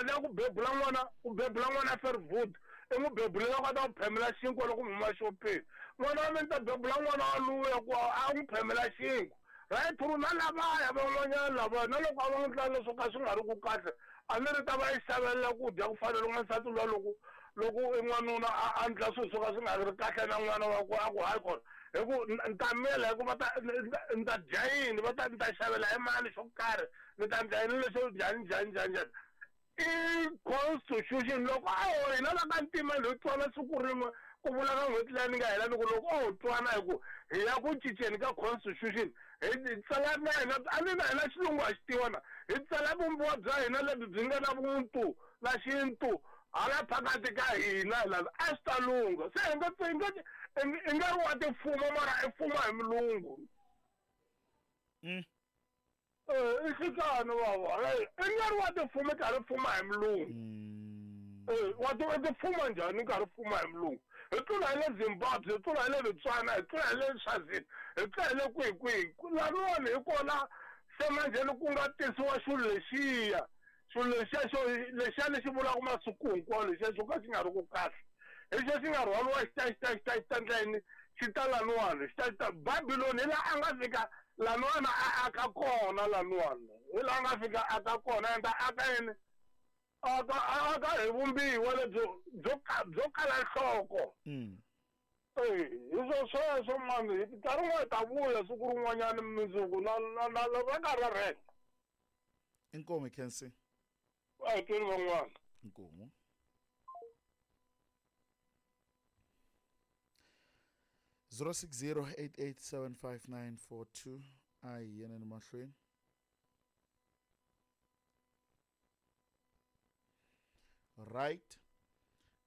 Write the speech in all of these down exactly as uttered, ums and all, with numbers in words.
mali ya ku bebula n'wana u bebula n'wana Fairwood i n'wi bebulela ku a ta ku phemela xinkwa loko mi huma xopeni n'wana wa mina ni ta bebula n'wana wa luya ku a n'wi phemela xinkwa right through na lavaya van'wanyana lavaya na loko a va n'wi ndla leswo ka swi nga ri ku kahle a ni ri ta va yi xavelela ku dya ku fana loko n'wansati luya loko loko i n'wanuna a a ndla swilo swo ka swi nga ri kahle na n'wana wa ku a ku hayi kona hi ku ni ta miyela hi ku va ta ni ta dya yini va ta ni ta xavela hi mali xo karhi ni ta ndla yini lexo njhani njhani njhani njhani i constitution loko a ho hina la ka ntima hi twana siku rin'we ku vula ka n'hweti leyi ni nga hela ni ku loko o ho twana hi ku hi ya ku cinceni ka constitution hi tsala na hina a ni na hina xilungu ha xi tiva na hi tsala vumbiwa bya hina lebyi byi nga na vuntu na xintu hala phakati ka hina la a swi ta lungha se hi nga hi nga i nga ri wa tifuma mara i fuma hi mulungu mm. eh i xikano baba i nga ri wa tifuma karhi fuma hi mulungu eh wa ti tifuma njhani karhi fuma hi mulungu hi tlula hi le Zimbabwe hi tlula hi le Botswana hi tlula hi le Swazini hi tlula hi le kwihi kwihi laniwani hi kona se manjheni ku nga tisiwa xilo lexiya xilo lexiya xo lexiya lexi vulaka masiku hinkwawo lexiya xo ka xi nga ri ku kahle hi xo xi nga rhwaliwa xi ta xi ta xi ta xi ta ndla yini xi ta laniwani xi ta xi ta Babylon hi laha a nga fika laniwani a aka kona laniwani hi laha a nga fika aka kona enda aka yini aka aka hi vumbiwa lebyo byo byo kala nhloko mm. eh hi swo sweswo mani nkarhi wun'wana hi ta vuya siku rin'wanyana mundzuku na na na va karhi ra rheka inkomu Khensi a hi tweni van'wana inkomu zero six zero eight eight seven five nine four two a hi yeneni mahlweni right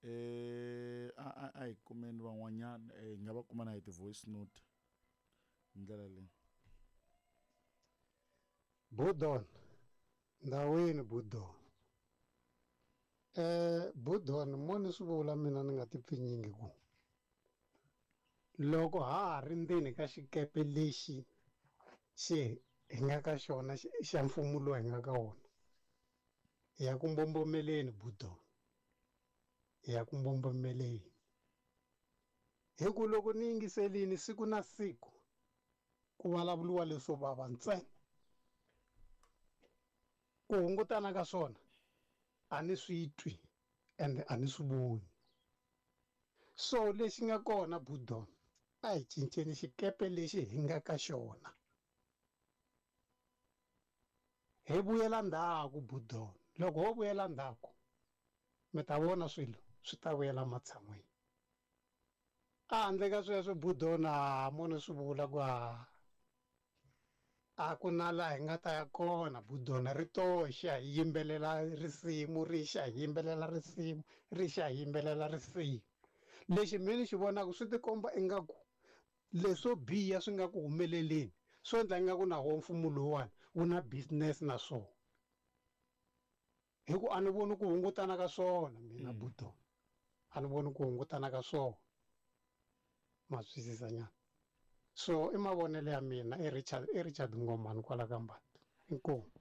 eh a a a hi kumeni van'wanyana eh hi nga va kuma na hi ti-voice note hi ndlela leyi Budon ndhawini Budon eh Budon mo ni swi vula mina ni nga ti pfinyingi ku loko ha ha ri ndzeni ka xikepe lexi xi hi nga ka xona xa mfumo lowu hi nga ka wona hi ya ku mbombomeleni Budon hi ya ku mbombomeleni hi ku loko ni yingiselini siku na siku ku vulavuriwa leswo vava ntsena ku hungutana ka swona a ni swi twi ende a ni swi voni so lexi nga kona Budon a hi cinceni xikepe lexi hi nga ka xona hi vuyela ndzhaku Budon loko ho vuyela ndzhaku mi ta vona swilo swi ta vuyela matshan'wini a handle ka sweswo Budon a mo ni swi vula ku a a ku na laha hi nga ta ya kona Budon ri toxa hi yimbelela risimu ri xa hi yimbelela risimu ri xa hi yimbelela risimu lexi mina ni xi vonaka swi tikomba ingaku leswo biha swi nga ku humeleleni swo endla ingaku na wo mfumo lowuwani wu na business na swona hi ku a ni voni ku hungutana ka swona mina Budon a ni voni ku hungutana ka swona ma twisisa nyana so i mavonelo ya mina i Richard i Richard Ngomani kwala ka Mbati inkomu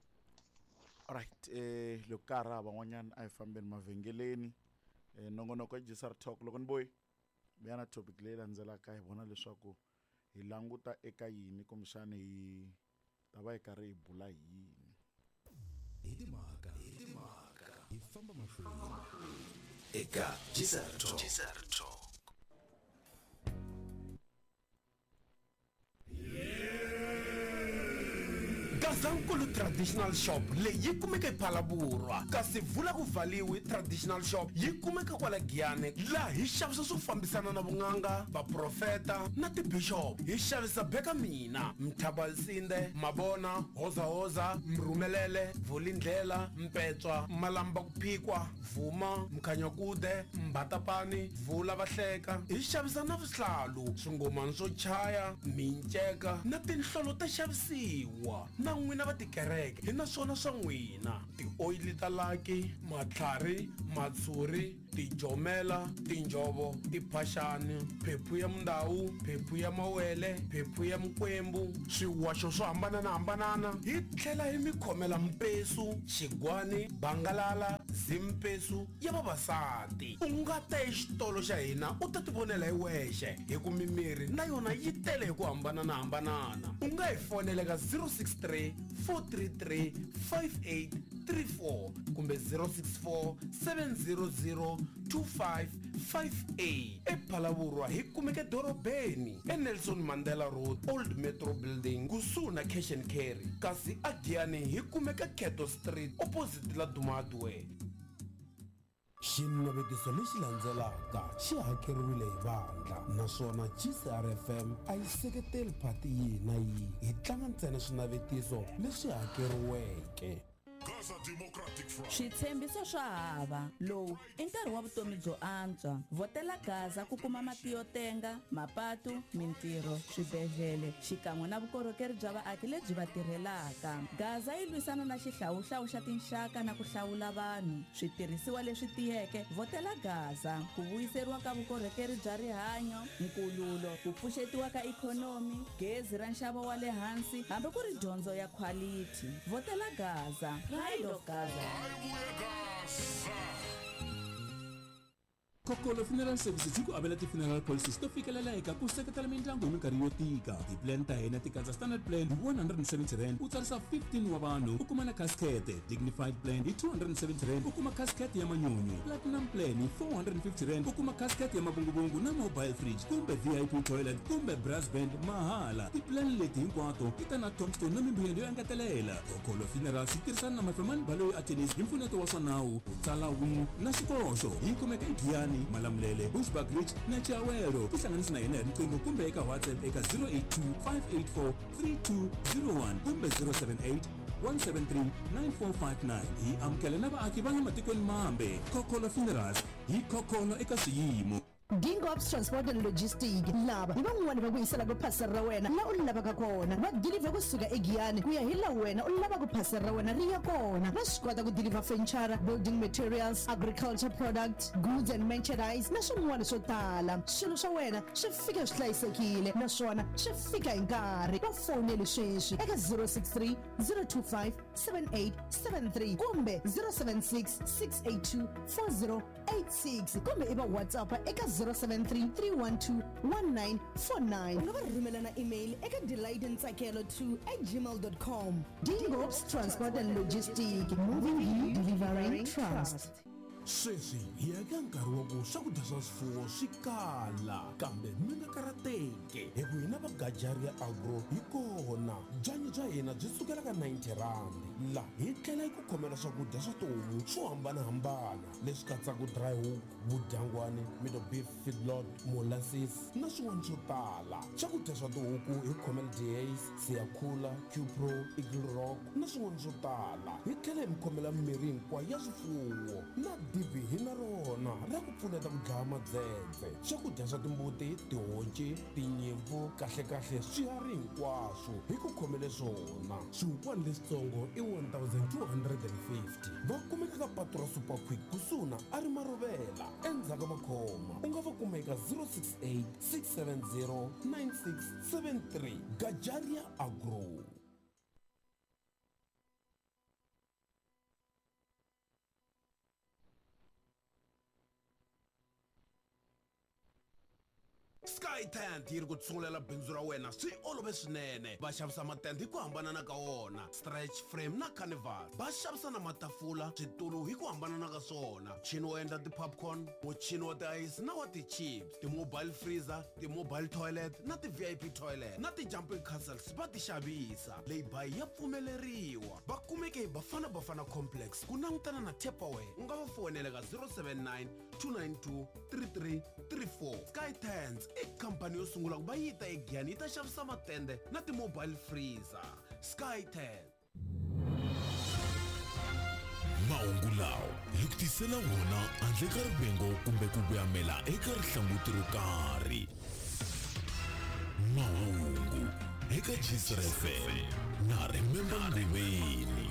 alright eh loko ka ha ri hava van'wanyana a hi fambeni mavhengeleni eh nongonoko ya G S R Talk loko ni boyi vuya na topic leyi landzelaka hi vona leswaku hi languta eka yini kumbexani hi ta va hi karhi hi bula hi yini hi timhaka hi timhaka hi famba mahlweni eka G S R Talk G S R Talk Gazankulu Traditional Shop leyi yi kumeka ePhalaborwa kasi vula ku valiwi Traditional Shop yi kumeka kwala Giyani laha hi xavisa swo fambisana na vun'anga vaprofeta na tibishop hi xavisa beka mina Mthabalsinde Mabona Hozahoza Mrhumelele Vulindlela Mpetswa Malamba ku phikwa Vuma Mkhanyakude Mbatapani Vula Vahleka hi xavisa na vuhlalu swingomani swo chaya minceka na tinhlolo ta xavisiwa na n'wina va tikereke hi na swona swa n'wina. Tioyili ta laki, matlhari, matshuri, tijomela, tinjovo, tiphaxani, phephu ya mundawu, phephu ya mawele, phephu ya mikwembu, swiwaxo swo hambananahambanana. Hi tlhela hi mi khomela mpesu, xigwani, bangalala, zimpesu ya vavasati. U nga ta exitolo xa hina u ta tivonela hi wexe hi ku mimiri na yona yi tele hi ku hambananahambanana. U nga hi fonela ka zero six three, four three three, five eight three four kumbe zero six four, seven zero zero, two five five eight. ePhalaborwa hi kumeka edorobeni eNelson Mandela Road, Old Metro Building, kusuhi na Cash and Carry. Kasi aGiyani hi kumeka Keto Street opposite la Dumadwe. Xinavetiso lexi landzelaka xi hakeriwile hi vandla naswona G C R F M a yi seketeli phati yihi na yihi. Hi tlanga ntsena swinavetiso leswi hakeriweke. Switshembiso swa hava. Lowu i nkarhi wa vutomi byo antswa. Vhotela Gaza ku kuma mati yo tenga, mapatu, mintirho, swibedhlele xikan'we na vukorhokeri bya vaaki lebyi va tirhelaka. Gaza yi lwisana na xihlawuhlawu xa tinxaka na ku hlawula vanhu. Switirhisiwa leswi tiyeke, vhotela Gaza. Ku vuyiseriwa ka vukorhokeri bya rihanyo, nkululo, ku pfuxetiwa ka ikhonomi, gezi ra nxavo wa le hansi, hambi ku ri dyondzo ya quality. Vhotela Gaza. Pride of Gaza. Kokolo Funeral Services yi ku avela ti-funeral policies to fikelela eka ku seketela mindyangu hi minkarhi yo tika. Ti-plan ta hina ti katsa standard plan hi one hundred and seventy rand u tsarisa fifteen wa vanhu u kuma na casket, dignified plan hi two hundred and seventy rand u kuma casket ya manyunyu, platinum plan hi four hundred and fifty rand u kuma casket ya mavunguvungu na mobile fridge kumbe V I P toilet kumbe brass band mahala. Ti-plan leti hinkwato ti ta na tombstone na mimbuyelo yo engetelela. Kokolo Funerals yi tirhisana na Mafemani Baloyi Attorneys hi mpfuneto wa swa nawu, ku tsala will na xikoxo. Yi kumeka eGiyani, Malamulele, Bushbuckridge na Chiawelo. Tihlanganisi na hina hi riqingho kumbe eka WhatsApp eka zero eight two, five eight four, three two zero one kumbe zero seven eight, one seven three, nine four five nine. Hi amukela na vaaki va le matikweni mambe. Kokolo Funerals, hi kokolo eka swiyimo. Dingops Transport and Logistics lava hi van'wani va ku yisela ku phasela ra wena la u lavaka kona. Va deliver kusuka eGiyani ku ya hi la wena u lavaka ku phasela ra wena ri ya kona. Va swi kota ku deliver furniture, building materials, agriculture products, goods and merchandise na swin'wana swo tala. Swilo swa wena swi fika swi hlayisekile naswona swi fika hi nkarhi. Va foneli sweswi eka zero six three, zero two five, seven eight seven three kumbe zero seven six, six eight two, four zero eight six kumbe i va WhatsApp eka zero seven three, three one two, one nine four nine. U nga va rhumela na email eka delight ntsakelo two at gmail dot com. Dingops Transport and Logistics, moving you, delivering trust. Sweswi hi ya ka nkarhi wa ku swakudya swa swifuwo swi kala, kambe mi nga karhateki hi ku hina va Gajaria Agro hi kona. Byanyi bya hina byi sukela ka ninety rand. La hi tlhela hi ku khomela swakudya swa tihomu swo hambanahambana leswi katsaka dry hook, vudyangwani, middle beef feedlot, molasses na swin'wana swo tala. Swakudya swa tihuku hi khomela Days, Siyakhula, Qpro, Eagle Rock na swin'wana swo tala. Hi tlhela hi mi khomela mirhi hinkwayo ya swifuwo na dibi hi na rona ra ku pfuneta ku dlaya madzedze. Swakudya swa timbuti, tihonci, tinyimpfu, kahlekahle swiharhi hinkwaswo hi ku khomele swona. Swihukwani leswitsongo i one thousand two hundred and fifty. Va kumeka ka patu ra Super Quick kusuhi na a ri Maruvela endzhaku ka Makhoma. U nga va kuma eka zero six eight, six seven zero, nine six seven three. Gajaria Agro. Sky Tent yi ri ku tsungulela bindzu ra wena swi olove swinene. Va xavisa matende hi ku hambanana ka wona, stretch frame na carnival. Va xavisa na matafula, switulu hi ku hambanana ka swona, muchini wo endla ti-popcorn, muchini wa ti-ice na wa ti-chips, ti-mobile freezer, ti-mobile toilet na ti-V I P toilet na ti-jumping castles va ti xavisa. Leyi ya pfumeleriwa. Va kumeke hi Bafana Bafana Complex ku langutana na Tupperware. U nga va fonela ka zero seven nine, two nine two, three three three four. Sky Tents i khampani yo sungula ku va yi ta eGiyani yi ta xavisa matende na ti-mobile freezer. Sky Tent. Mahungu lawa hi ku tisela wona handle ka rivengo kumbe ku voyamela eka rihlanguti ro karhi. Mahungu eka Gisra F M na Remember Nguveni.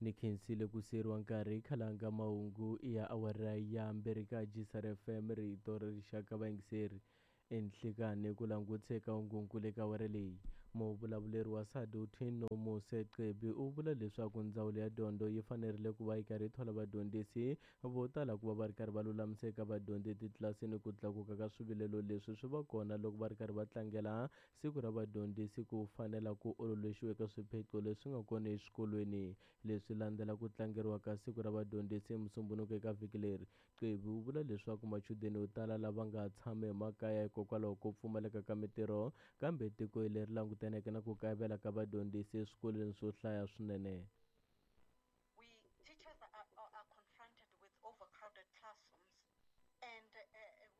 Ni khensile ku siyeriwa nkarhi khalanga mahungu ya awara ya mbirhi ka Gisra F M rito ra rixaka vayingiseri enhlekani ku languteka hungunkulu eka awara leyi. Muvulavuleri wa SADTU Nomusa Cebi u vula leswaku ndzawulo ya dyondzo yi fanerile ku va yi karhi yi thola vadyondzisi vo tala ku va va ri karhi va lulamisa eka vadyondzi etitlilasini. Ku tlakuka ka swivilelo leswi swi va kona loko va ri karhi va tlangela siku ra vadyondzisi ku fanela ku ololoxiwa eka swiphiqo leswi nga kona eswikolweni. Leswi landzela ku tlangeriwa ka siku ra vadyondzisi hi Musumbhunuko eka vhiki leri. Cebi u vula leswaku machudeni yo tala lava nga tshama emakaya hikokwalaho ko pfumaleka ka mitirho, kambe tiko leri langutaneke na ku kayivela ka vadyondzisi eswikolweni swo hlaya swinene. We teachers are, are, are confronted with overcrowded classrooms, and, uh,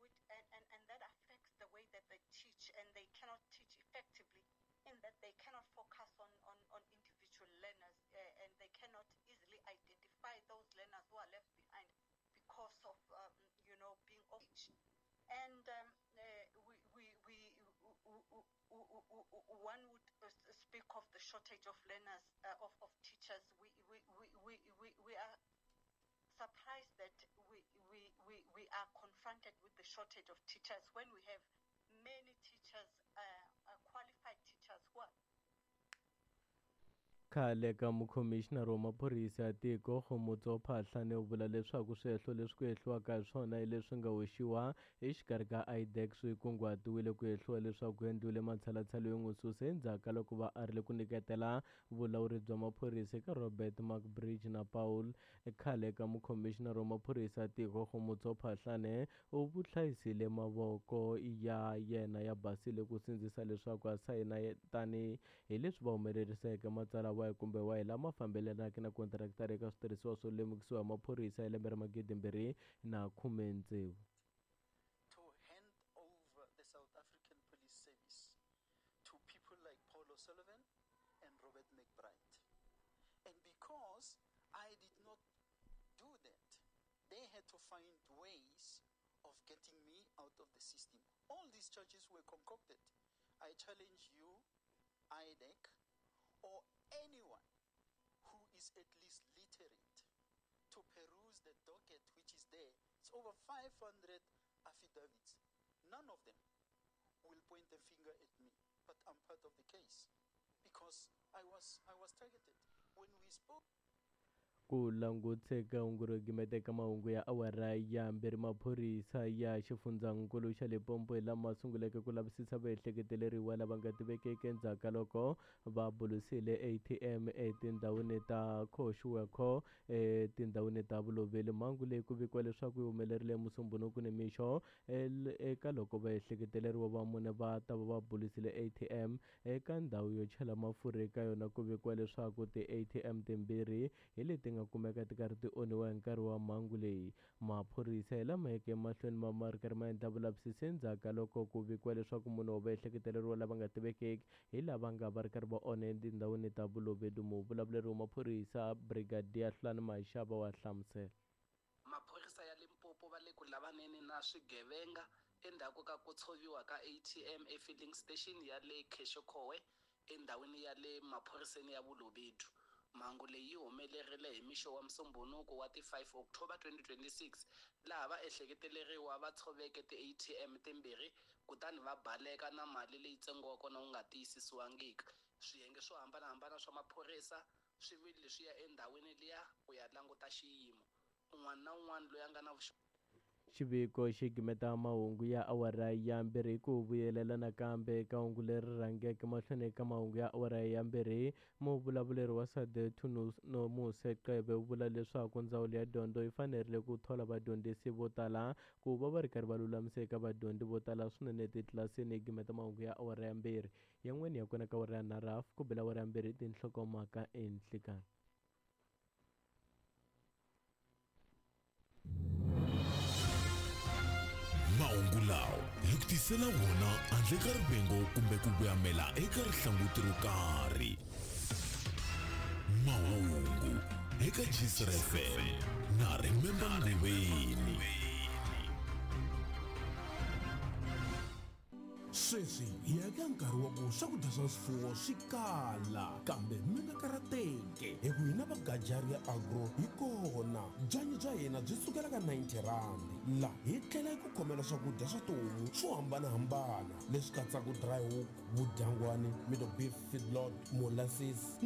which, and, and, and that affects the way that they teach, and they cannot teach effectively in that they cannot focus on, on, on individual learners, uh, and they cannot easily identify those learners who are left behind because of, um, you know, being off. And um, uh, we, we, we, one would speak of the shortage of learners, uh, of, of teachers. We, we, we, we, we, we are surprised that we, we, we, we are confronted with the shortage of teachers when we have many teachers, uh, uh, qualified teachers who are Khale ka mukhomixinari wa maphorisa ya tiko Khomotso Phahlane u vula leswaku swihehlo leswi ku hehliwaka hi swona hi leswi nga hoxiwa exikarhi ka I D E C swi kunguhatiwile ku hehliwa leswaku ku endliwile matshalatshala yo n'wi susa endzhaku ka loko va arile ku nyiketela vulawuri bya maphorisa eka Robert McBridge na Paul. Khale ka mukhomixinari wa maphorisa ya tiko Khomotso Phahlane u vuhlayisile mavoko ya yena ya basile ku sindzisa leswaku a sayina tani hi leswi va humeleriseke matsalwa wahi kumbe wahi lama fambelanaka na kontraktara eka switirhisiwa swo lemukisiwa hi maphorisa hi lembe ra magidi mbirhi na khume tsevu. To hand over the South African Police Service to people like Paul O'Sullivan and Robert McBride. And because I did not do that, they had to find ways of getting me out of the system. All these charges were concocted. I challenge you, I D E C, or anyone who is at least literate to peruse the docket which is there. It's over five hundred affidavits. None of them will point a finger at me, but I'm part of the case because I was, I was targeted. When we spoke... Ku languteka hungu ro gimeteka mahungu ya awara ya mbirhi maphorisa ya xifundzankulu xa Limpopo hi lama sunguleke ku lavisisa vaehleketeleriwa lava nga tivekeki endzhaku ka loko va bulusile A T M etindhawini ta Khoshuwekho etindhawini ta Vuloveli. Mhangu leyi ku vikiwa leswaku yi humelerile Musumbhunuku nimixo eka loko vaehleketeleriwa va mune va ta va va bulusile A T M eka ndhawu yo chela mafurha eka yona. Ku vikiwa leswaku ti-A T M timbirhi hi leti nga kumeka ti karhi ti onhiwa hi nkarhi wa mhangu leyi. Maphorisa hi lama yeke emahlweni ma ma ri karhi ma endla vulavisisi endzhaku ka loko ku vikiwa leswaku munhu wa vaehleketeleriwa lava nga tivekeki hi lava nga va ri karhi va onha etindhawini ta Vulovedu. Muvulavuleri wa maphorisa Brigadier Hlulani Mashaba wa hlamusela. Maphorisa ya Limpopo va le ku lavaneni na swigevenga endzhaku ka ku tshoviwa ka A T M efilling station ya le Kheshokowe endhawini ya le maphoriseni ya Vulovedu. Mhangu leyi yi humelerile hi mixo wa Musumbhunuko wa ti five October twenty twenty-six laha va ehleketeleriwa va tshoveke ti-A T M timbirhi kutani va baleka na mali leyi ntsengo wa kona wu nga tiyisisiwangiki. Swiyenge swo hambanahambana swa maphorisa swi vile swi ya endhawini liya ku ya languta xiyimo. Un'wana na un'wana loyi a nga na vuxokoxoko. Xiviko xi gimeta mahungu ya awara ya mbirhi ku vuyelela nakambe eka hungu leri rhangeke mahlweni eka mahungu ya awara ya mbirhi. Muvulavuleri wa SADTU Nomusa Cebe u vula leswaku ndzawulo ya dyondzo yi fanerile ku thola vadyondzisi vo tala ku va va ri karhi va lulamisa eka vadyondzi vo tala swinene etitlilasini. Yi gimeta mahungu ya awara ya mbirhi yan'wana ya kona ka awara ya nharhu ku bela awara ya mbirhi tinhlokomhaka enhlikani. Mahungu lawa hi ku tisela wona handle ka rivengo kumbe ku vuyamela eka rihlanguti ro karhi. Mahungu eka Gisra F M na Remember Nguveni. Sweswi hi ya eka nkarhi wa ku swakudya swa swifuwo swi kala, kambe mi nga karhateki hi ku hina va Gajaria Agro hi kona. Byanyi bya hina byi sukela ka ninety rand, la hi tlhela hi ku khomela swakudya swa tihomu swo hambanahambana leswi katsaka dry hook, vudyangwani, middle beef feedlot, molasses.